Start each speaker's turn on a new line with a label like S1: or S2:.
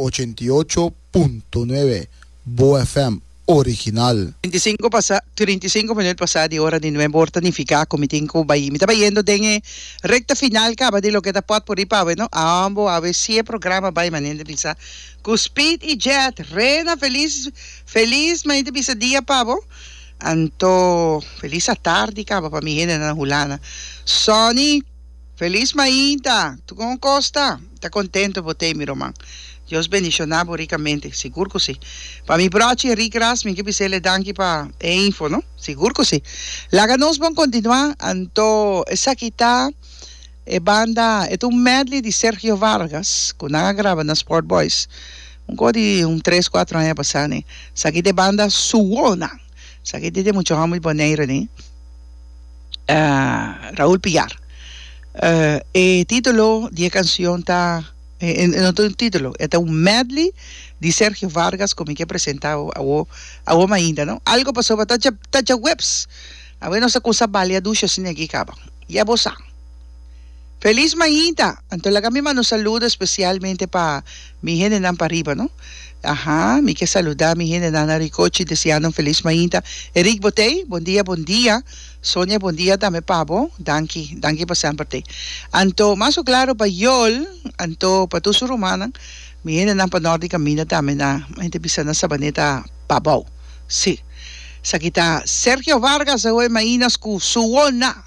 S1: 88.9 Bo FM original.
S2: 35 pasa, 35 minuut pasa di ora di nuebe or ta nifica cu mi tin cu bay, mi ta bayendo den e recta final caba di loke ta potpourri pa awe no, ambo awe si e programa bay manera ta bisa cu speed y jet, Rena feliz feliz manera ta bisa dia pa bo, anto feliz atardi caba pa mi hendenan na Hulanda, Sonny. Feliz mainta! Tu con cos ta? Ta contento bo tey mi ruman. Dios bendiciona bo ricamente. Sigur cu si. Pa mi brochi Rick Ras mi ke bisele danki pa e info no. Sigur cu si. Laga nos bon continua anto esaki ta e banda e ta un medley di Sergio Vargas cu nan a graba na Sport Boys un co di un tres cuatro aña pasa ne. Esaki ta e banda Suwona. Esaki ta di mucha homber di Bonaire ne. Raúl Pillar. E título di e canción ta, e no ta un título, e ta un medley di Sergio Vargas cu mi ke presenta awo, awo mainta, no? Algo pasobra ta dja, ta djaweps. Awe nos ta cusa balia dushi asina aki caba. Ya bo sa. Feliz mainta! Anto laga mi manda un saludo especialmente pa mi hendenan pariba, no? Aha, mi ke saluda mi hendenan na Ricochi deseando un feliz mainta. Eric Botey, bon dia, bon dia. Sonia, bon dia tambe pa bo. Danki, danki pa semper tey. Anto, mas ku claro pa Yol, anto pa tur su rumannan, mi hendenan pa nort di caminda tambe na, hende bisa na Sabaneta Pabou. Si. Esaki ta Sergio Vargas awe mainas ku su wona.